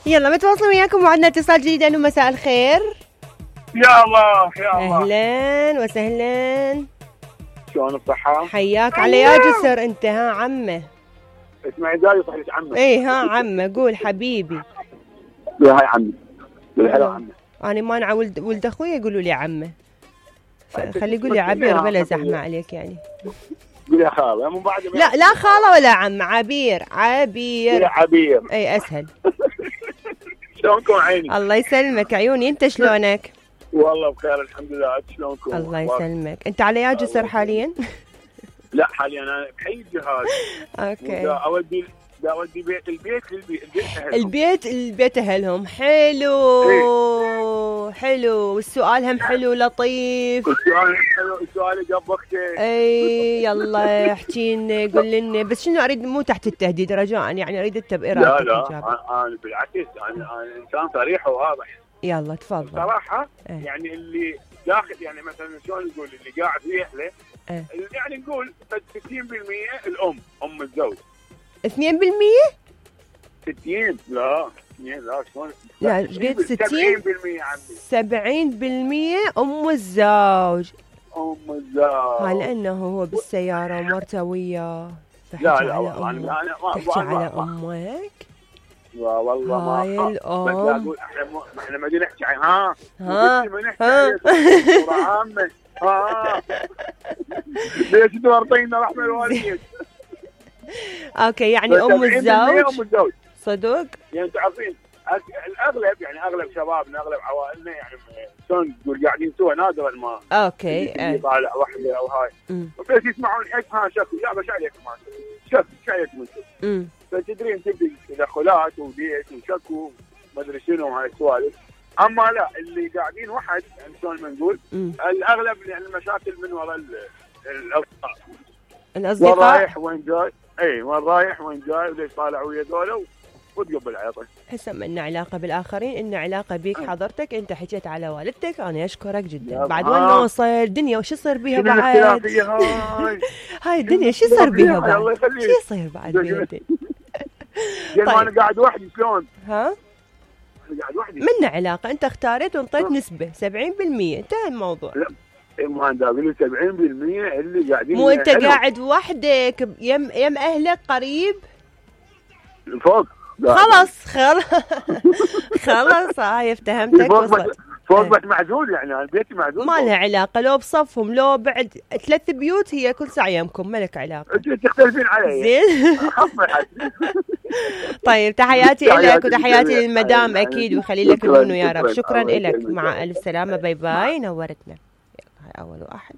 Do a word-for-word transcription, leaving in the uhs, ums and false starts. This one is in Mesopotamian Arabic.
يلا متواصلين وياكم وعندنا اتصال جديد. انه مساء الخير. يا الله يا الله. اهلا وسهلا. شلون الصحة؟ حياك على يا جسر انت. ها عمه اسمعي زايد صح لك عمه. اي ها عمه قول حبيبي. يا هاي عمي. بالحلو عمه. انا ما انا ولد ولد اخوي يقولوا لي عمه. خلي يقول لي عبير بلا زحمه عليك يعني. قولي يا خاله من بعد. لا لا خاله ولا عم. عبير عبير. عبير اي اسهل. شلونكم عيني؟ الله يسلمك عيوني. انت شلونك؟ والله بخير الحمد لله. شلونكم؟ الله يسلمك. انت على يا جسر حاليا؟ لا حاليا انا بحي الجهاز. اوكي. اودي دا اودي بيت البيت البيت اهلهم. البيت البيت اهلهم. حلو ايه؟ حلو. والسؤال هم حلو لطيف. السؤال حلو. السؤال جاب وقته. اي يلا احكي لنا قول لنا بس شنو اريد مو تحت التهديد رجاء يعني اريد التبئير. لا لا انا بالعكس انا انا انسان صريح وواضح. يلا تفضل. صراحه ايه؟ يعني اللي داخل يعني مثلا شلون نقول اللي قاعد ويحلى ايه؟ يعني نقول ستين بالمية الام ام الزوج. اثنين بالمية؟ ستين لا اثنين لا شلون؟ لا قلت ستين؟ سبعين بالمية عمي. سبعين بالمية ام الزوج. ام الزوج. ها لانه هو بالسياره ومرته وياه. لا لا والله انا ما تحكي على امك. لا والله ما هاي الام. بس اقول احنا احنا ما نحكي ها ها ما نحكي عامه. ها ليش تورطينا رحمه الوالدين؟ اوكي يعني ام الزوج. ام الزوج صدق؟ يعني تعرفين الاغلب يعني اغلب شبابنا اغلب عوائلنا يعني شلون تقول قاعدين سوا نادرا ما. اوكي. طالع وحده او هاي. بس يسمعون حق ها شكو يا بس عليك ما شك شو عليك انتم. فتدرين تبدي تدخلات وديت وشكو ما ادري شنو هاي السوالف. اما لا اللي قاعدين وحد يعني شلون ما نقول الاغلب يعني المشاكل من وراء الاصدقاء. الاصدقاء وين رايح وين جاي. اي وين رايح وين جاي وليش طالع ويا ذولا وتقبل عيطه. هسه ما لنا علاقه بالاخرين إن علاقه بيك حضرتك. انت حكيت على والدتك انا اشكرك جدا. بعد وين نوصل الدنيا وش يصير بيها بعد؟ هاي هاي الدنيا شو يصير بيها بعد؟ الله يخليك. شو يصير بعد بيتي؟ طيب انا قاعد وحدي شلون؟ ها؟ انا قاعد وحدي. منا علاقه انت اختاريت وانطيت نسبه سبعين بالمية انتهى الموضوع. لا ما انت اقول سبعين بالمية اللي قاعدين. مو انت قاعد وحدك يم يم اهلك قريب؟ فوق. خلاص خلاص خلاص هاي افتهمتك. وصلت فوق بس معزول يعني انا بيتي معزول. ما لها علاقه لو بصفهم لو بعد ثلاث بيوت هي كل ساعه يمكم ما لك علاقه. تختلفين علي زين. طيب تحياتي لك وتحياتي للمدام اكيد ويخلي لك البنو يا رب. شكرا لك. مع الف سلامه. باي باي. نورتنا. هاي اول واحد.